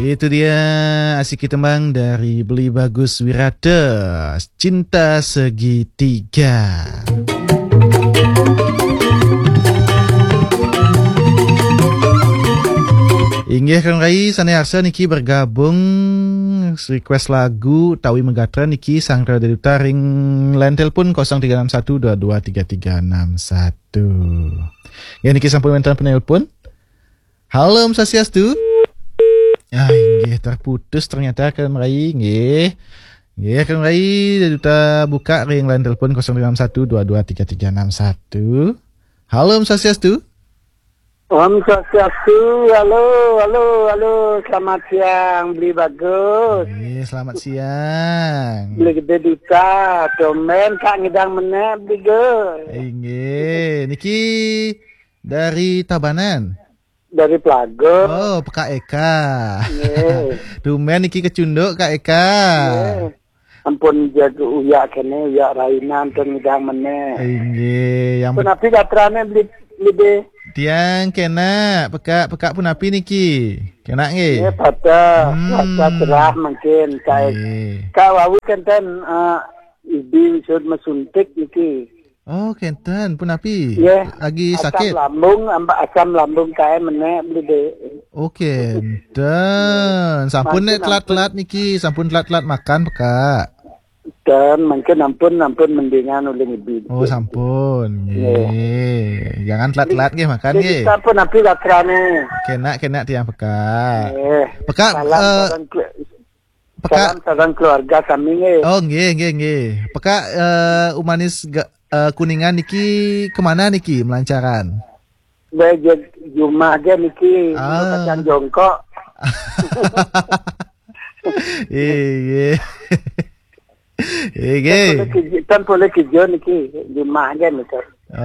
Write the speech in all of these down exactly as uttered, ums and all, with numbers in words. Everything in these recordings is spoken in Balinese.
Itu dia asik tembang dari Beli Bagus Wirata, Cinta Segitiga. Inggih, Kang Rai, sané arsa niki bergabung, request lagu tawi megatra niki, sanggra deduta ring line telepon kosong tiga enam satu dua dua tiga tiga enam satu. Ya, niki sampun wénten penelpon. Halo, Om Swastiastu. Ah, inggih, terputus ternyata, Kang Rai, nggih. Nggih, Kang Rai, duta buka ring line telepon kosong tiga enam satu dua dua tiga tiga enam satu. Halo, Om Swastiastu. Om Swastiastu, halo, halo, halo, selamat siang, Beli Bagus. Nggih, selamat siang. Beli Gede Duta, tumben Kak ngidang menék, Beli Gus. Inggih, niki dari Tabanan. Dari Pelago. Oh, Pekak Eka. Nggih. Tumben niki kecunduk, Kak Eka. Nggih. Ampun, jaga uyak kéné, uyak rainan, ten ngidang menék. Inggih, yang pun pet- api gatrané beli, beli deh. Tiang kénak, pekak, pekak pun api niki. Kénak nggih. Nggih, patah. Hmm. Patah cerah mungkin. Kayak, nggih. Kak wau kénten, eh, ibi wisud mesuntik niki. Oh, kénten, pun api? Nggih. Lagi asam sakit? Lambung, amba-, asam lambung kaé menék beli deh. Oh, kénten. Sampun mungkin nek telat-telat niki, sampun telat-telat makan, pekak. Dan mungkin ampun, ampun mendingan ulih ngebi. Oh, sampun. Nggih. Nggih. Jangan telat-telat nggih makan nggih. Sampun api gatrané. Kénak, kénak tiang pekak. Nggih. Pekak, salam eh, sareng kelu-, pekak. Salam sareng keluarga sami nggih. Oh, nggih, nggih, nggih. Pekak, eh, Umanis ga-, eh, Kuningan niki kemana niki melancaran? Bé, jumah gé niki, ah, kacang jongkok. Iya. Iya. Kan boleh kerja, kan boleh kerja niki, jumah gé niki.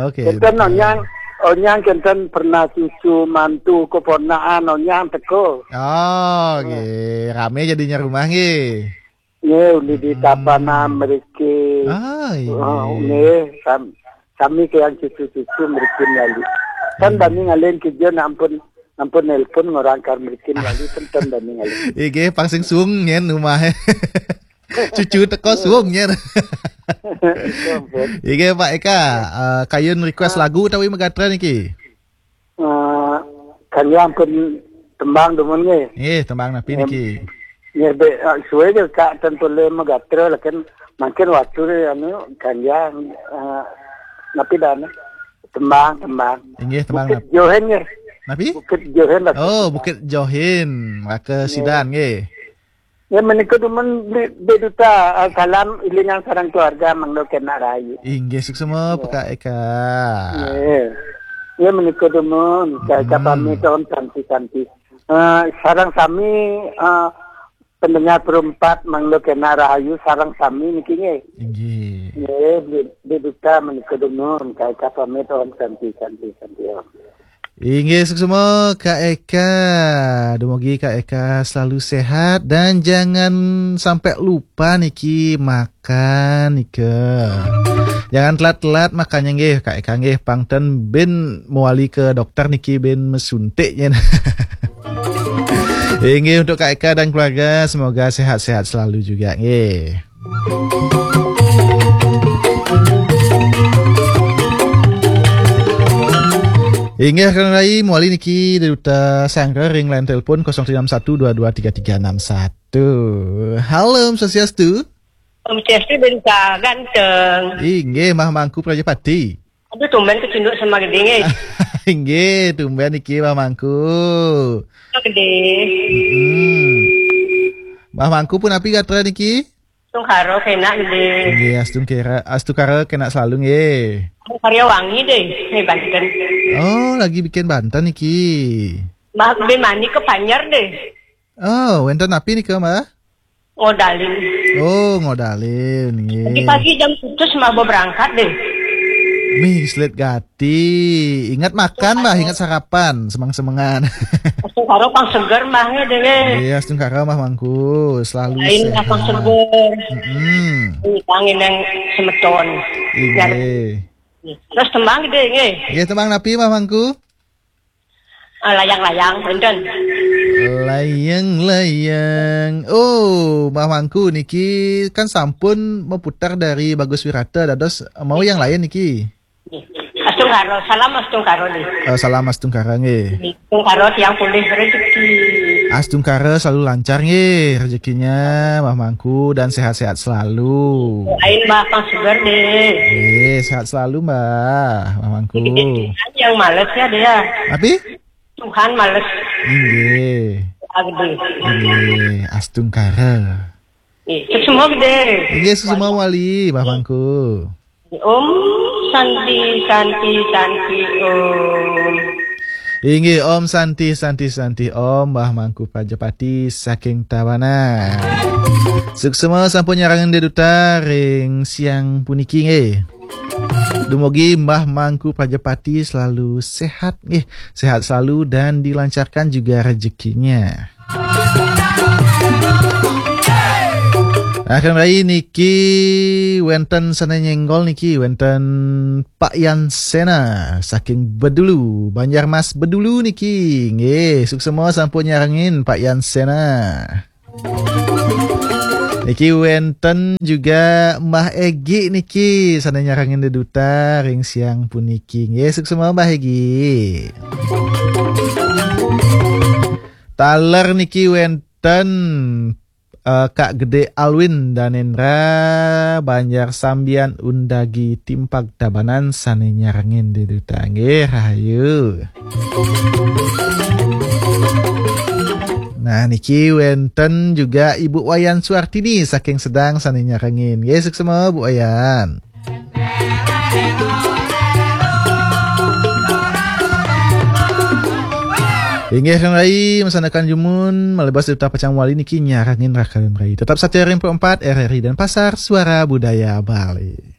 Oke. Kan onyang, onyang kan pernah cucu, mantu, keponakan, onyang teko. Oh, nggih. Rame jadinya rumah nggih. Nggih, uli di Tabanan mriki. Ah, iya. Oh, nggih, sam-, sami kalian cucu-cucu mriki lali. Kan bani ngalih kerja, nak ampun, ampun nelpon ngorang kar mriki lali, ten bani ngalih. Nggih, pang sing suung nyen umahe. Cucu teko suung nyen. Ampun. Nggih, Pak Eka, eh, kayun request lagu utawi megatra niki? Eh, kalian pun tembang dumun nggih. Nggih, tembang napi niki? Nggih, bé, eh, suwe je Kak ten tole megatra, lakin mangkin waktu ni, anu, kalian, eh, napi dan tembang, tembang. Inggih, tembang Bukit nap-, Johin nggih. Napi? Bukit Johin lah. Oh, Bukit Johin, Raka Sidan nggih. Ya, menika dumun di, di duta, eh, salam ilingan sareng keluarga mangda kena rahayu. Inggih, suksma, ya. Pekak Eka. Nggih. Ya, menika dumun, Kak Eka pamit, om santi-santi. Eh, sareng sami, eh, pendengar perempat mangda kena rahayu sareng sami niki nggih. Inggih. Nggih, di, di duta menika dumun, Kak Eka pamit, om santi-santi-santi, om. Inggih, suksma Kak Eka. Dumugi Kak Eka selalu sehat dan jangan sampai lupa niki makan nika. Jangan telat-telat makannya nggih, Kak Eka nggih. Pang ten bin mewali ke dokter niki bin mesuntik nyen. Inggih, untuk Kak Eka dan keluarga, semoga sehat-sehat selalu juga nggih. Inggih, Kang Rai, mewali niki dari Duta Sanggar ring line telepon kosong tiga enam satu dua dua tiga tiga enam satu. Halo, Om Swastiastu. Om Swastiastu, Beli Eka ganteng. Inggih, Mah Mangku Prajapati. Aduh, tumben kecunduk sama gedé nggih. Inggih, tumben niki Mah Mangku. Gedé. Mm-mm. Mah Mangku pun api gatra niki? Tungkara kena gedé. Nggih, astungkara, astungkara kena selalu nggih. Karya wangi deh, nih Banten. Oh, lagi bikin Banten niki. Mbah Gedé Manik ke Banjar deh. Oh, wénten napi nika, Mbah? Ngodalin. Oh, ngodalin, nggih. Pagi-pagi jam tujuh mah berangkat deh. Mih, selit gati. Ingat makan, Mbah, ingat sarapan, semang-semengan. Astungkara pang seger, Mbah, nggih, deh. Iya, astungkara, Mbah Mangku, selalu lain sehat. Pang seger. Mm-mm. Ini kangen yang semeton. Inggih. Terus tembang deh, nggih. Nggih, tembang napi, Mbah Mangku? Ah, layang-layang, enten. Layang-layang. Oh, Mbah Mangku niki kan sampun meputar dari Bagus Wirata, dados mau yang lain niki. Astungkara, salam astungkara nih. Eh, salam astungkara nggih. Astungkara tiang pulih rezeki. Astungkara selalu lancar nggih rezekinya, Mbah Mangku, dan sehat-sehat selalu. Lain Mbah Kang Sugar deh. Eh, sehat selalu Mbah, Mbah Mangku. Yang males ya dia. Tapi? Tuhan males. Inggih. Agdi. Inggih, astungkara. Ih, semua gede. Inggih, semua wali, Mbah Mangku. Om Santi, Santi, Santi, Om. Inggih, Om Santi, Santi, Santi, Om, Mbah Mangku Prajapati saking Tabanan. Suksma sampun nyarengin deduta ring siang puniki nggih. Dumugi Mbah Mangku Prajapati selalu sehat nggih, sehat selalu dan dilancarkan juga rezekinya. Akan rai niki wenten sane nyenggol niki, wenten Pak Yan Sena saking Bedulu, Banjarmas Bedulu niki. Nggih, suksma sampun nyarengin Pak Yan Sena. Niki wenten juga Mbah Egi niki sane nyarengin deduta ring siang puniki. Nggih, suksma Mbah Egi. Taler niki wenten eh, Kak Gede Alwin Danendra, Banjar Sambian Undagi Timpag Tabanan sane nyarengin deduta nggih, rahayu. Nah, niki wenten juga Ibu Wayan Suartini saking Sedang sane nyarengin. Nggih, suksma Bu Wayan. Inggih Kang Rai, masanakan jumun, malebas duta pacang wali niki nyarengin rakalun rai. Tetap satia ring empat R R I Denpasar, Suara Budaya Bali.